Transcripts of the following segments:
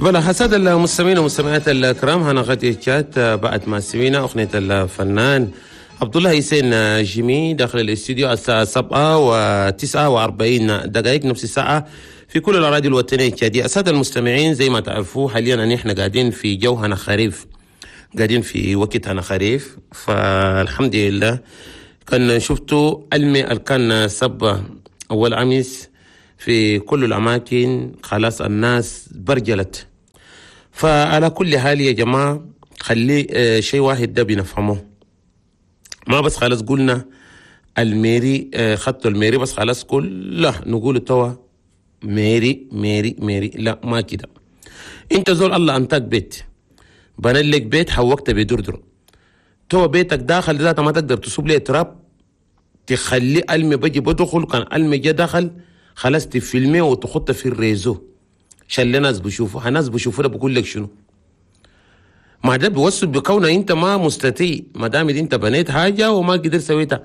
بلا حساد المستمعين والمستمعات الكرام، هنا غادي جات بعد ما سمينا اغنية الفنان عبد الله حسين جيمي داخل الاستوديو الساعة 7:49، نفس الساعة في كل الاراضي الوطنية التشاديه. السادة المستمعين، زي ما تعرفوا حاليا ان احنا قاعدين في جو هنا خريف، قاعدين في وقت هنا خريف، فالحمد لله كان شفتوا المي كان صب اول امس في كل الاماكن، خلاص الناس برجلت. فعلى كل حال يا جماعة، خلي شيء واحد ده بنفهمه، ما بس خلاص قلنا ال mairie، خطوا ال mairie بس خلاص كله نقول توا mairie mairie mairie، لا ما كده. انت زول الله انتك بيت، بنى لك بيت حوقت بدردر، توا بيتك داخل ذاته ما تقدر تصب ليه تراب، تخلي المي بجي بدخل، كان المي جا دخل خلاص تفيلمي وتخط في ال réseau عشان الناس بشوفوا، الناس بشوفوا ده بقول لك شنو. ما ده بيوصل بكونه انت ما مستطيع، ما دام انت بنيت حاجة وما قدرت سويتها.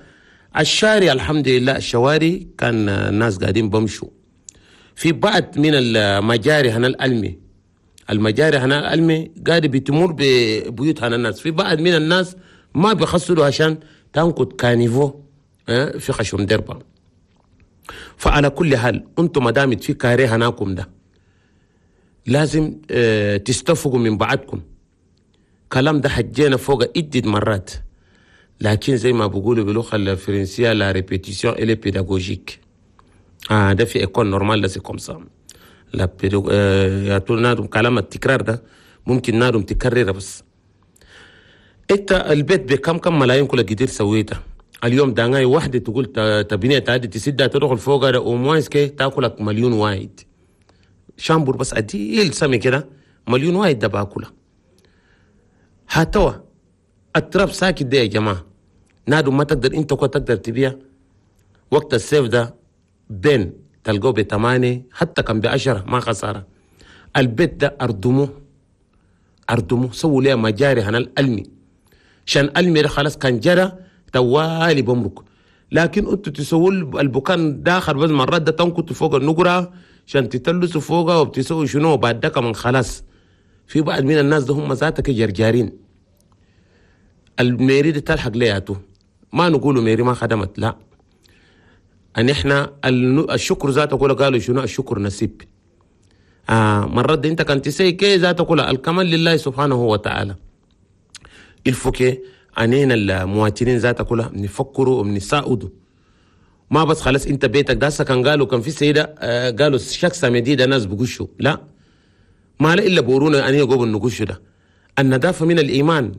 الشارع الحمد لله الشوارع كان الناس قاعدين بمشوا في بعض من المجاري هنا الألمي، المجاري هنا الألمي قاعد بتمر ببيوت هنا الناس، في بعض من الناس ما بيخسروا عشان تنقد caniveau في خشم دربه. فعلى كل حال انتم ما دام في carré هناكم ده لازم تستفقوا من بعضكم. كلام ده حجينا فوق عدة مرات، لكن زي ما بيقولوا باللغة الفرنسية la répétition elle est pédagogique. ده في école normale ده c'est comme ça، la pédago يا طول نادم كلام التكرار ده ممكن نادم تكرر. بس انت البيت بكم كم ملايين كل قدير سويته اليوم داناي واحدة تقول تبنية تعدي تسدها تدخل فوق ده au moins كي تاكلك مليون واحد chambre بس أديل سمي كده مليون واحد ده باكله. هاتوا التراب ساكت ده يا جماعة، نادو ما تقدر انت كنت تقدر تبيع وقت السيف ده بين تلقوه ب8 حتى كان ب10 ما خسارة. البيت ده أردمه أردمه سووا ليه مجاري هنا الألمي، عشان ألمي ده خلاص كان جرى توالي بمرك، لكن انتوا تسووا البكان داخل بس مرات ده تنكتوا فوق النقرة عشان تتلسوا فوقها وبتسووا شنو بعد ده كمان خلاص. في بعض من الناس ده هم ذاتك جرجارين، ال mairie دي تلحق لياته، ما نقولوا mairie ما خدمت، لا ان احنا الشكر ذاته كله قالوا شنو الشكر نسيب. مرات انت كنت تسي كي ذاته كله الكمال لله سبحانه وتعالى. الفوكي انينا المواطنين ذاته كلها بنفكروا وبنساعدوا، ما بس خلاص انت بيتك ده كان قالوا كان في سيده قالوا شخص مديده ناس بقشوا، لا ما لا الا بورونا ان يقوم النقش ده. النظافة من الايمان،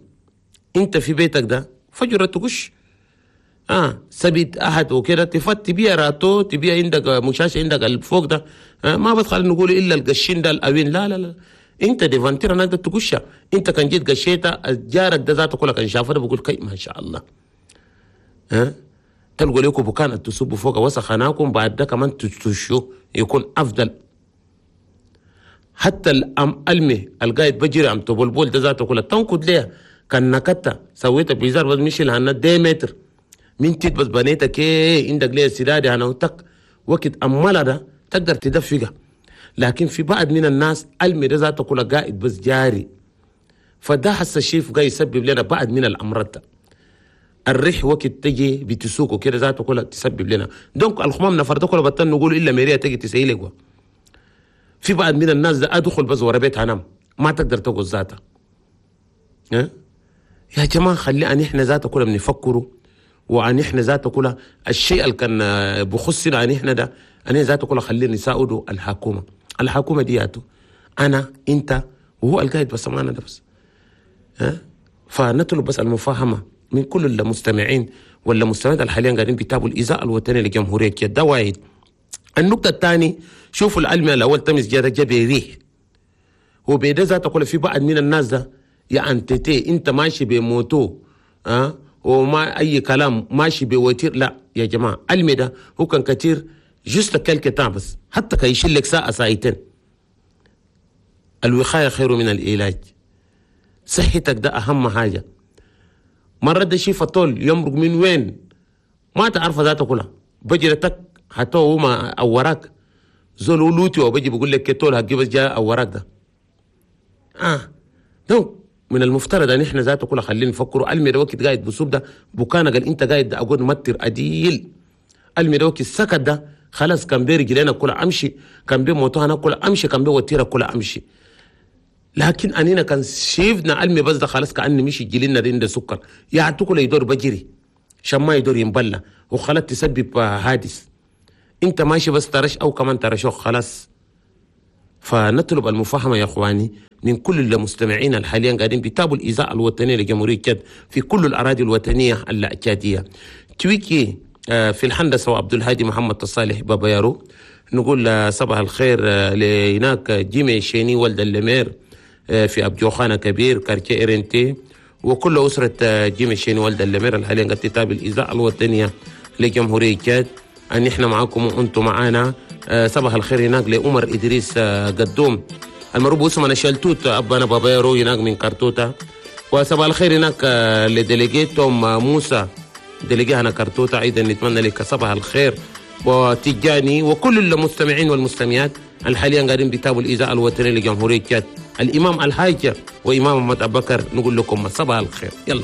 انت في بيتك ده فجرة تقش سبيت احد وكده تفت تبيع راتو تبيع عندك مشاش عندك الفوق ده ما بس خلينا نقول الا القشين ده الاوين، لا لا لا انت devanture هناك تقشها، انت كان جيت قشيتها جارك ده ذاته كله كان شافه ده بقول كي ما شاء الله. تلقوا لكم بكان تصبوا فوق وسخناكم بعد ده كمان تشو يكون افضل. حتى الام المي القايد بجري عم تبلبل ده ذاته كله تنقد ليه كان نكتة سويتها بيزار بس مشي لهنا 2 متر من تيت بس بنيتك كي عندك ليه سدادي انا وتك وقت امالا ده تقدر تدفقها. لكن في بعض من الناس المي ده ذاته كله قاعد بس جاري، فده حس الشيف قاعد يسبب لنا بعض من الامراض. الريح وقت تجي بتسوق وكده ذاته كله تسبب لنا donc الخمام نفر ده كله بطل نقول الا mairie تجي تسيلك. في بعض من الناس ده ادخل بس ورا بيت انام ما تقدر تقول ذاتها. يا جماعة خلي ان احنا ذاته كله بنفكروا، وان احنا ذاته كله الشيء اللي كان بخصنا ان احنا ده ان ذاته كله خلينا نساعدوا الحكومة. الحكومة دياتو انا انت وهو القايد بس معنا ده بس. فنطلب بس المفاهمه من كل المستمعين ولا المستمعات اللي حاليا قاعدين بيتابعوا الاذاعة الوطنية لجمهوريه ده واحد. النقطة الثانية شوفوا العلم الاول تمس جا بيريح هو بيدا ذاته كله. في بعض من الناس ده يا انتتي انت ماشي ب moto وما اي كلام ماشي ب voiture، لا يا جماعة المي ده هو كان كثير juste quelque temps بس حتى كي يشيل لك ساعة ساعتين. الوقاية خير من العلاج، صحتك ده اهم حاجة. مرة ده شيء فطول يمرق من وين ما تعرف ذاته كلها بجرتك حتى هو ما اوراك زول لوتي وبجي بقول لك كتول هجيب جاء اوراك ده. Donc من المفترض ان احنا ذاته كله خلينا نفكروا. المي ده وقت قاعد بصوب ده بكانك قال انت قاعد ده اقول متر اديل. المي ده وقت السكت ده خلاص كان بيرجلنا كل امشي، كان بي moto كل امشي، كان بي وتيرة كل امشي. لكن انينا كان شيفنا المي بس ده خلاص كأني مشي جلنا ده سكر يا كل يدور بجري شما يدور ينبلى وخلاص تسبب حادث. انت ماشي بس ترش او كمان ترشوك خلاص. فنطلب المفاهمة يا اخواني من كل المستمعين الحاليا قاعدين بيتابعوا الإذاعة الوطنية لجمهورية تشاد في كل الأراضي الوطنية التشادية. تويكي في الهندسة وعبد الهادي محمد الصالح بابا يارو. نقول صباح الخير لهناك جيمي شيني ولد ال maire في أبجوخانة كبير quartier إرنتي، وكل أسرة جيمي شيني ولد ال maire الحاليا قاعد تتابع الإذاعة الوطنية لجمهورية تشاد. أن إحنا معاكم وأنتم معانا. صباح الخير هناك لأمر إدريس قدوم المروب اسمه أنا شلتوت أبانا بابا يارو هناك من كارتوتا. وصباح الخير هناك ل délégué توم موسى délégué هنا كارتوتا، أيضا نتمنى لك صباح الخير وتجاني وكل المستمعين والمستمعات الحاليا قاعدين بيتابعوا الإذاعة الوطنية لجمهورية تشاد. الإمام الحاج وإمام محمد أبو بكر نقول لكم صباح الخير. يلا.